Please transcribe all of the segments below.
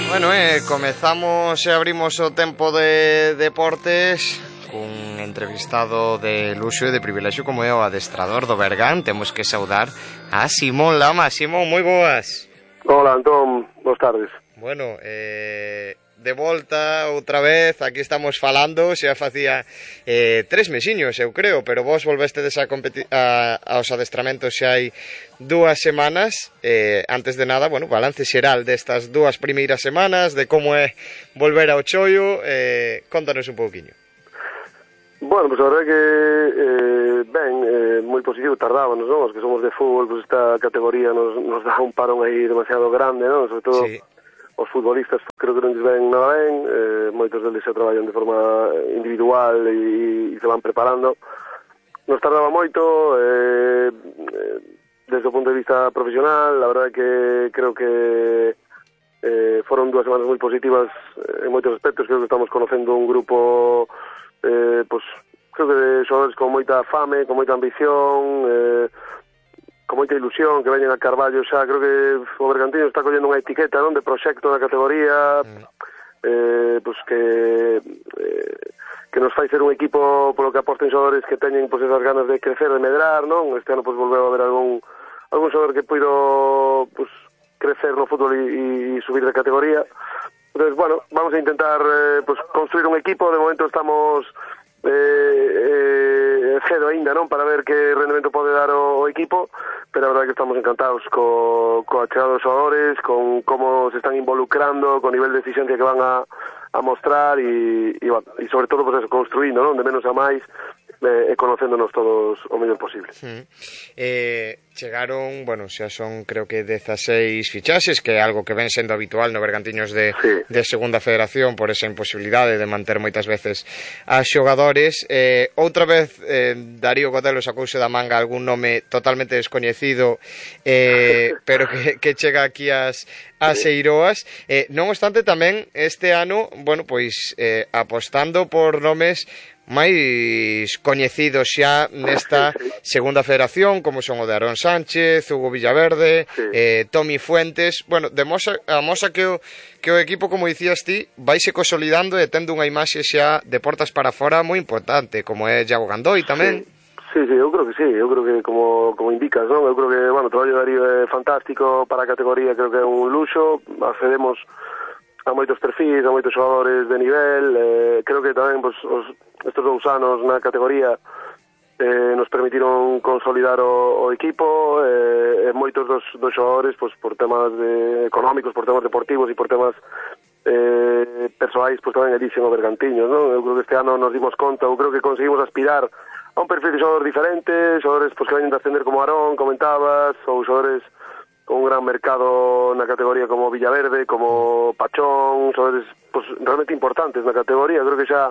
Bueno, comezamos e abrimos o tempo de deportes cun entrevistado de luxo e de privilexio como é o adestrador do Bergan. Temos que saudar a Simón Lama. Simón, moi boas. Hola, Antón, boas tardes. Bueno, de volta outra vez, aquí estamos falando, xa facía 3 mesiños, eu creo, pero vos volvestedes aos adestramentos xa hai 2 semanas. Antes de nada, bueno, balance xeral destas 2 primeiras semanas, de como é volver ao Choio, contanos un pouquiño. Bueno, pues a verdade que moi positivo, tardábamos, non? Os que somos de fútbol, pues esta categoría nos dá un parón aí demasiado grande, non? Sobre todo sí. Os futbolistas creo que non lles ven nada ben, moitos deles se traballan de forma individual e se van preparando. Nos tardaba moito, desde o punto de vista profesional, la verdade que creo que foron 2 semanas moi positivas en moitos aspectos. Creo que estamos conocendo un grupo, pues, creo que de xogadores con moita fame, con moita ambición, con moita ilusión, que veñen a Carballo xa. Creo que o Bergantiños está collendo unha etiqueta, non, de proxecto da categoría, pues que nos fai ser un equipo polo que aposten xogadores que teñen pues esas ganas de crecer, de medrar, non? Este ano pues volveu a haber algún xogador que puido pues crecer no fútbol e subir de categoría. Entonces, bueno, vamos a intentar pues construir un equipo. De momento estamos cedo aínda, non, para ver que rendemento pode dar o equipo, pero a verdade que estamos encantados coa chegada dos xogadores, con como se están involucrando, con nivel de exigencia que van a mostrar e sobre todo pues eso, construindo, non, de menos a máis, e conocéndonos todos o mellor posible. Chegaron, bueno, xa son creo que 16 fichaxes, que é algo que ven sendo habitual no Bergantiños de segunda federación, por esa imposibilidade de manter moitas veces a xogadores. Outra vez Darío Godelo sacouse da manga algún nome totalmente descoñecido, pero que chega aquí ás Eiroas. Non obstante, tamén este ano, bueno, pois apostando por nomes máis coñecidos xa nesta segunda federación, como son o de Aarón Sánchez, Hugo Villaverde, Tomi Fuentes. Bueno, amosa que o equipo, como dicías ti, vaise consolidando e tendo unha imaxe xa de portas para fora moi importante, como é Iago Gandoi tamén. Sí, eu creo que como indicas, non? Eu creo que, bueno, o traballo de Darío é fantástico para a categoría, creo que é un luxo. Accedemos a moitos perfis, a moitos xogadores de nivel. Creo que tamén pues, estes 2 anos na categoría nos permitiron consolidar o equipo, e moitos dos xogadores pues, por temas económicos, por temas deportivos e por temas persoais pues, tamén elixen o Bergantiños, non? Eu creo que este ano nos dimos conta, eu creo que conseguimos aspirar a un perfil de xogador diferente, xogadores pues, que veñen de ascender como Aarón, comentabas, ou xogadores con un gran mercado na categoría como Villaverde, como Pachón, xogadores pues, realmente importantes na categoría. Creo que xa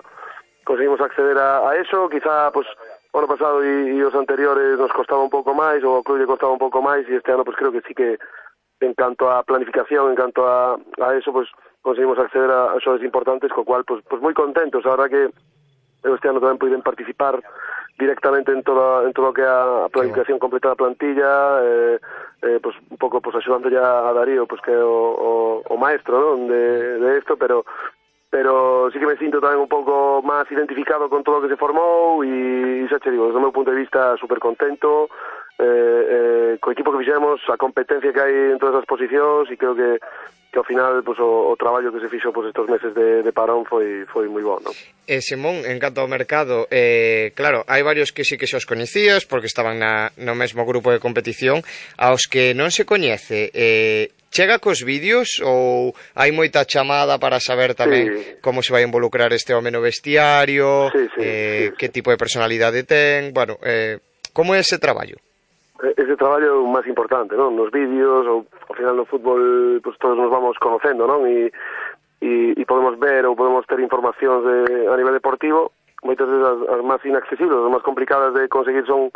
conseguimos acceder a eso. Quizá pues, o ano pasado e os anteriores nos costaba un pouco máis, ou ao club lle costaba un pouco máis, e este ano pues, creo que sí que en canto a planificación, en canto a eso, pues, conseguimos acceder a xogadores importantes, co cual pues moi contentos. A verdad que este ano tamén poden participar directamente en todo o que é a planificación completa da plantilla, pues un pouco pues axudando ya a Darío, pues que é o maestro, non, de esto, pero sí que me sinto tamén un pouco máis identificado con todo o que se formou e xa che digo, desde o meu punto de vista super contento co equipo que fixemos, a competencia que hai en todas as posicións, e creo que ao final pues, o traballo que se fixo pues, estos meses de parón foi moi bon, non? Simón, en canto ao mercado, claro, hai varios que sí que xos coñecías porque estaban no mesmo grupo de competición. Aos que non se coñece, chega cos vídeos ou hai moita chamada para saber tamén como se vai involucrar este home no vestiario, que tipo de personalidade ten? Bueno, como é ese traballo? Ese traballo é o máis importante, non? Nos vídeos, ou ao final no fútbol pues, todos nos vamos conocendo, non? E podemos ver ou podemos ter informacións a nivel deportivo. Moitas veces as máis inaccesibles, as máis complicadas de conseguir son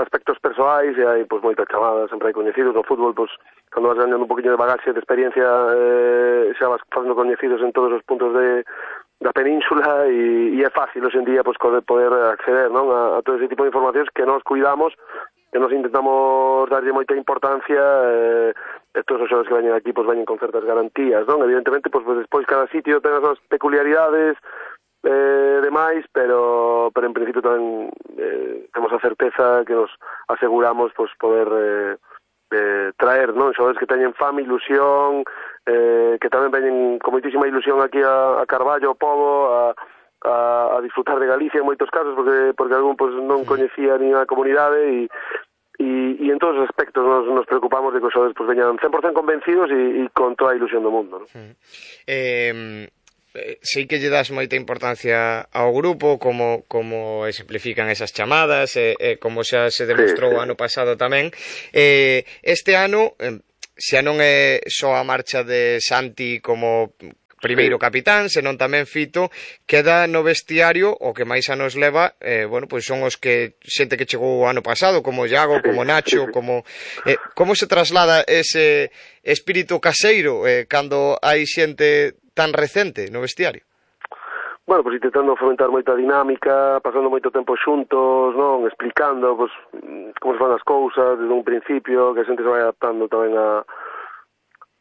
aspectos persoais, e hai pues, moita chamada, sempre hai coñecidos no fútbol, pues, cando vas ganhando un poquinho de bagaxe, de experiencia, xa vas facendo coñecidos en todos os puntos da península, e é fácil hoxe en día pues, poder acceder, non? A todo ese tipo de informacións que nos cuidamos nos intentamos darlle moita importancia, todos os xogadores que veñen aquí pois veñen con certas garantías, non? Evidentemente, pois despois cada sitio ten as súas peculiaridades, demais, pero en principio tamén temos a certeza que nos aseguramos pois poder traer, non, xogadores que teñen fame, ilusión, que tamén veñen con moitísima ilusión aquí a Carballo, ao Pobo, a disfrutar de Galicia en moitos casos, porque algún pois non coñecía nin a comunidade e en todos os aspectos nos preocupamos de que os xogadores pois veñan 100% convencidos e con toda a ilusión do mundo, non? Sei que lle das moita importancia ao grupo, como exemplifican esas chamadas, como xa se demostrou ano pasado tamén. Este ano, xa non é só a marcha de Santi como primeiro capitán, senón tamén Fito, queda no vestiario o que máis anos leva, bueno, pois son os que xente que chegou o ano pasado, como Iago, como Nacho, como se traslada ese espírito caseiro cando hai xente tan recente no vestiario? Bueno, pois intentando fomentar moita dinámica, pasando moito tempo xuntos, non, explicando pois como se fan as cousas desde un principio, que a xente se vai adaptando tamén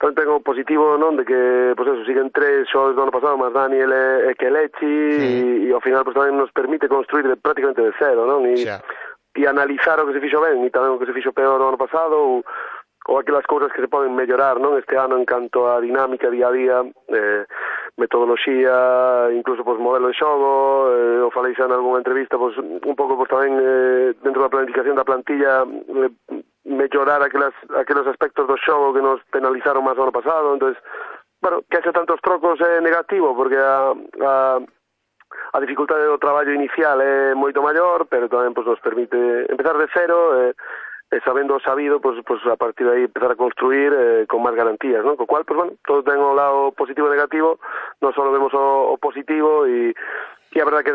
tamén ten o positivo, non, de que, pois eso, siguen 3 xogadores do ano pasado, máis Daniel e Kelechi, e ao final pois tamén nos permite construir prácticamente de cero, non, e analizar o que se fixo ben e tamén o que se fixo peor no ano pasado, ou aquelas cousas que se poden mellorar, non, este ano en canto a dinámica día a día, metodoloxía, incluso pois modelo de xogo, o falei xa en algunha entrevista, pois un pouco pois tamén dentro da planificación da plantilla mellorar aqueles aspectos do xogo que nos penalizaron máis o ano pasado. Entonces, bueno, que hace tantos trocos é negativo, porque a dificultade do traballo inicial é moito maior, pero tamén pois nos permite empezar de cero, sabendo o sabido, pois a partir de aí empezar a construir con máis garantías, non? Co cual, pois bueno, todo ten o lado positivo e negativo, non só vemos o positivo, e a verdad que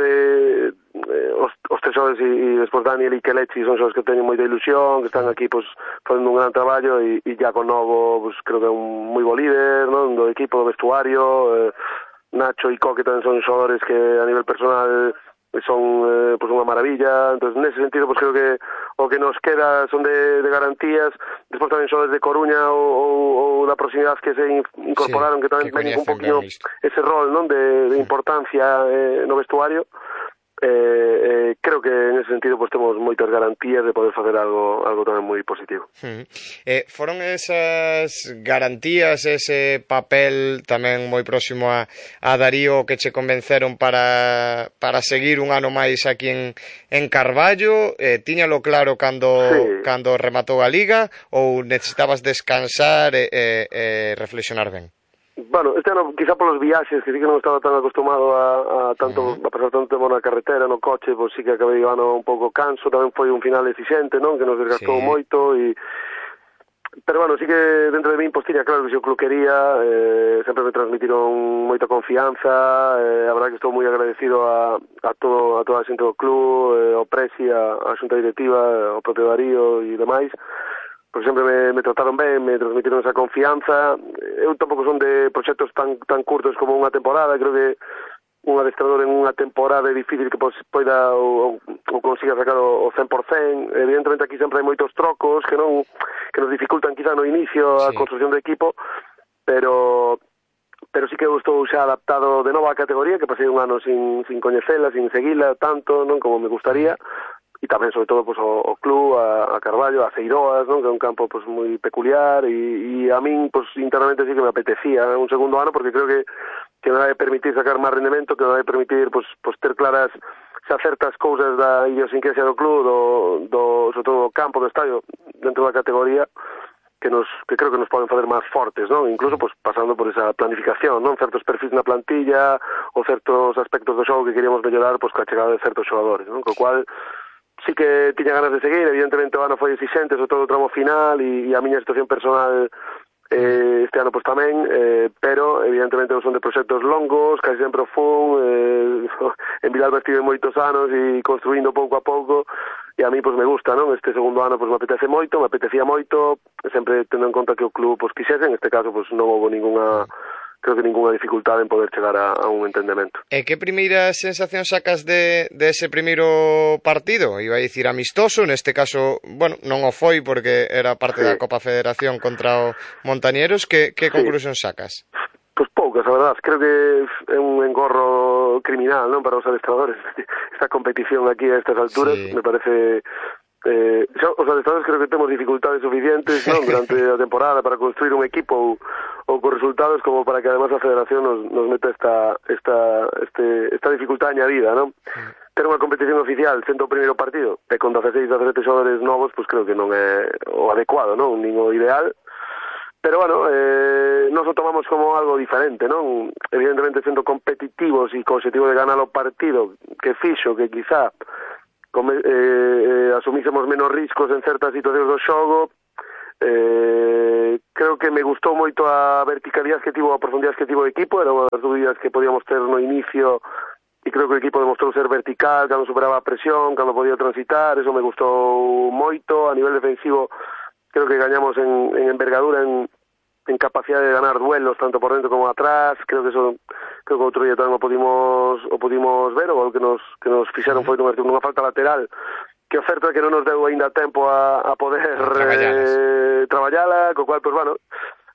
os tres xogadores e despois Daniel e Kelechi son xogadores que teñen moita ilusión, que están aquí pois facendo un gran traballo, e Iago Novo, pois creo que é un moi bo líder, non, do equipo, do vestuario, Nacho e Coque tamén son xogadores que a nivel personal son pois unha maravilla. Entonces, nese sentido, pois creo que o que nos queda son de garantías. Despois tamén xogadores de Coruña ou da proximidade que se incorporaron, que tamén ven un poquinho ese rol, non, de importancia no vestuario. Creo que en ese sentido pues temos moitas garantías de poder facer algo tamén moi positivo. Foron esas garantías, ese papel tamén moi próximo a Darío que che convenceron para seguir un ano máis aquí en Carballo? Tiñalo claro cando rematou a Liga, ou necesitabas descansar e reflexionar ben? Bueno, este ano, quizá polos viaxes, que sí que non estaba tan acostumado a pasar tanto tempo na carretera, no coche, pois sí que acabei o ano un pouco canso, tamén foi un final exixente, non, que nos desgastou moito, pero bueno, sí que dentro de min, pois tiña claro que se o club quería, sempre me transmitiron moita confianza, a verdad que estou moi agradecido a toda a xente do club, ao Presi, a xunta directiva, ao propio Darío e demais, porque sempre me trataron ben, me transmitiron esa confianza. Eu tampouco son de proxectos tan curtos como unha temporada. Creo que un adestrador en unha temporada é difícil que poida ou consiga sacar o 100%. Evidentemente aquí sempre hai moitos trocos que nos dificultan quizá no inicio a construcción do equipo, pero sí que eu estou xa adaptado de novo á categoría, que pasei un ano sin coñecela, sin seguila tanto, non, como me gustaría. E tamén, sobre todo, pues, o club, a Carballo, a Ceiroas, non, que é un campo pues, moi peculiar, e a min, pues, internamente sí que me apetecía un segundo ano, porque creo que me vai permitir sacar máis rendemento, que me vai permitir pues, ter claras xa certas cousas da idiosincrasia do club, sobre todo do campo, do estadio, dentro da categoría, que creo que nos poden fazer máis fortes, non? Incluso pues, pasando por esa planificación, non? Certos perfis na plantilla, ou certos aspectos do xogo que queríamos mellorar pues, coa chegada de certos xogadores, non? Co cual sí que tiña ganas de seguir. Evidentemente o ano foi exixente, sobre todo o tramo final, e a miña situación personal este ano pues tamén, pero evidentemente son de proxectos longos, casi sempre o fun, en Vilalba estive moitos anos e construindo pouco a pouco, e a mí pues me gusta, non? Este segundo ano pues me apetecía moito, sempre tendo en conta que o club pues quixese. En este caso pues non houve ninguna creo que ninguna dificultade en poder chegar a un entendemento. E que primeira sensación sacas de ese primeiro partido? Iba a dicir amistoso, neste caso, bueno, non o foi porque era parte da Copa Federación contra o Montañeros. Que conclusión sacas? Pois poucas, a verdade. Creo que é un engorro criminal, non, para os adestradores esta competición aquí a estas alturas. Me parece... os adestradores creo que temos dificultades suficientes, non, durante a temporada para construir un equipo ou con resultados como para que además a Federación nos meta esta dificultad añadida, non? Ter unha competición oficial sendo o primeiro partido e con 16, 17 xogadores novos, pois creo que non é o adecuado, non? Nin o ideal. Pero, bueno, nos o tomamos como algo diferente, non? Evidentemente, sendo competitivos e co objetivo de ganar o partido, que fixo que quizá asumísemos menos riscos en certas situacións do xogo. Creo que me gustou moito a verticalidade que tivo, a profundidade que tivo o equipo. Era unha das dúbidas que podíamos ter no inicio, e creo que o equipo demostrou ser vertical cando superaba a presión, cando podía transitar. Eso me gustou moito. A nivel defensivo creo que gañamos en envergadura, en capacidade de ganar duelos tanto por dentro como atrás. Creo que outro día tamén o pudimos ver. O gol que nos fixeron foi nunha falta lateral, que o certo é que non nos deu aínda tempo a poder traballala, co cual, pues, bueno,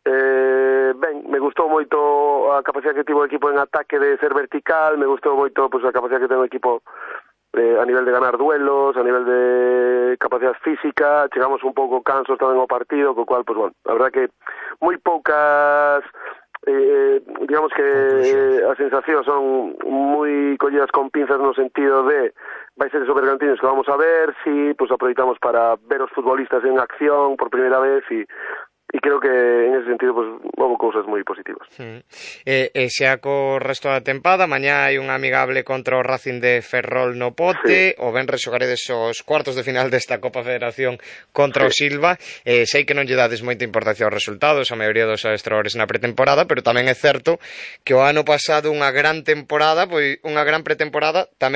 ben, me gustou moito a capacidade que tivo o equipo en ataque de ser vertical. Me gustou moito, pues, a capacidade que ten o equipo a nivel de ganar duelos, a nivel de capacidade física. Chegamos un pouco cansos tamén ao partido, co cual, pues, bueno, a verdad que moi poucas, digamos que as sensacións son moi collidas con pinzas no sentido de vai ser esos Bergantiños que vamos a ver, si pues aproveitamos para ver os futbolistas en acción por primeira vez, e creo que en ese sentido pues houve cousas moi positivas. Xa co resto da tempada, mañá hai un amigable contra o Racing de Ferrol no Pote, o venres xogaredes os cuartos de final desta Copa Federación contra o Silva. Sei que non lle dades moita importancia aos resultados, a maioría dos adestradores na pretemporada, pero tamén é certo que o ano pasado unha gran temporada, pois unha gran pretemporada, tamén